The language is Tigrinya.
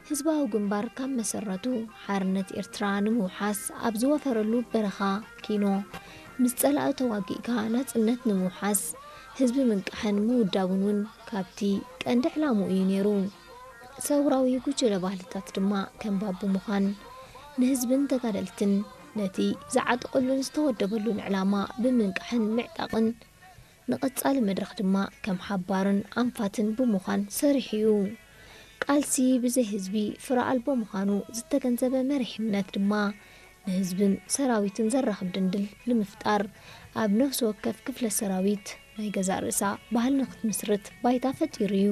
ህዝባዊ ግንባር ካብ መሰረቱ ሓርነት ኤርትራ ንምውሓስ ኣብ ዝወፈረሉ በረኻ ኪኖ ምስ ጸላኢ ተዋጊእካ ናጽነት ንምውሓስ ህዝቢ ምንቃሕን ምውዳቡን እውን ካብቲ ቀንዲ ዕላምኡ እዩ ነይሩ። ሰውራዊ ጉጅለ ባህልታት ድማ ከም ባብ ብምዃን ንህዝብን ተጋደልትን ነቲ ዝዓጠቐሉን ዝተወደበሉን ዕላማ ብምንቃሕን ምዕጣቕን ንቐጻሊ መድረኽ ድማ ከም ሓባርን ኣንፋትን ብምዃን ሰሪሑ እዩ። ቃልሲ ብዘይ ህዝቢ ፍረ ኣልቦ ምዃኑ ዝተገንዘበ መሪሕነት ድማ ንህዝብን ሰራዊትን ዘራኽብ ድንድል ንምፍጣር ኣብ ነፍሲ ወከፍ ክፍለ ሰራዊት ናይ ገዛእ ርእሳ ባህሊ ንክትምስርት ባይታ ፈጢሩ እዩ።